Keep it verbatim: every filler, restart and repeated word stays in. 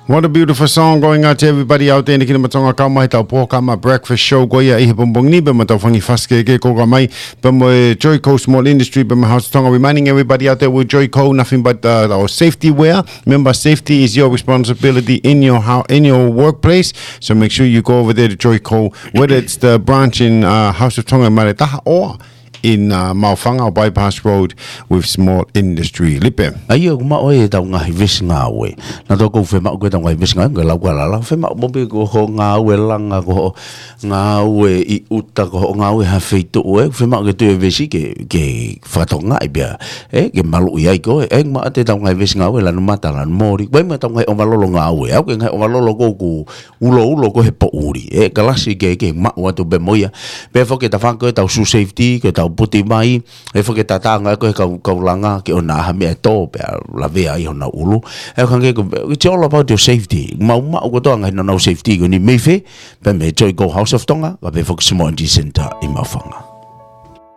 What a beautiful song going out to everybody out there. Niki na matonga kau mai tau pō kama breakfast show ko ia ʻi he pongipongi ni, pea mo tau fangi fasike ke ko ka mai, pea mo e Joico Small Industry, pea mo House of Tonga. Reminding everybody out there with Joico, nothing but uh, our safety wear. Remember, safety is your responsibility in your house, in your workplace. So make sure you go over there to Joico, whether it's the branch in uh, House of Tonga in Maretaha or in uh, Maʻufanga or Bypass Road with Small Industry. Lipe. ʻA ia, ʻoku maʻu ai e tau ngaahi vesi ngāue. Na tō kou femaʻu ko e tau ngaahi vesi ngāue, ko e lau ka lala, femaʻu mo pē ko hoʻo ngāue langa, ko hoʻo ngāue ʻi ʻuta, ko hoʻo ngāue ha feituʻu, ʻe, femaʻu ke tui e vesi ke, ke fakatokangaʻi pea, ʻe, ke maluʻi ai koe, ʻe, maʻu ʻa e tau ngaahi vesi ngāue, lanu mata, lanu moli, ko e maʻu tau ngaahi ʻovalolo ngāue, ʻa ia ko e ngaahi ʻovalolo ko ē ʻoku uloulo ko ē he poʻuli. ʻE, kalasi ke, ke maʻu atu pē mo ia. Pea foki ʻe tafa ko e tau shoe safety, ko e tau puti mai, ʻe foki ʻe tatanga ko ē kau, kau langa ke ʻoua naʻa ha meʻa ʻe tō pea lavea ai honau ʻulu. ʻE, ʻoku hangē ko, it's all about your safety. Mau maʻu kotoa ngaahi nonau safety ko eni mei fē, pea mei Joico House of Tonga, ka pea foki Small Industry Centre ʻi Maʻufanga.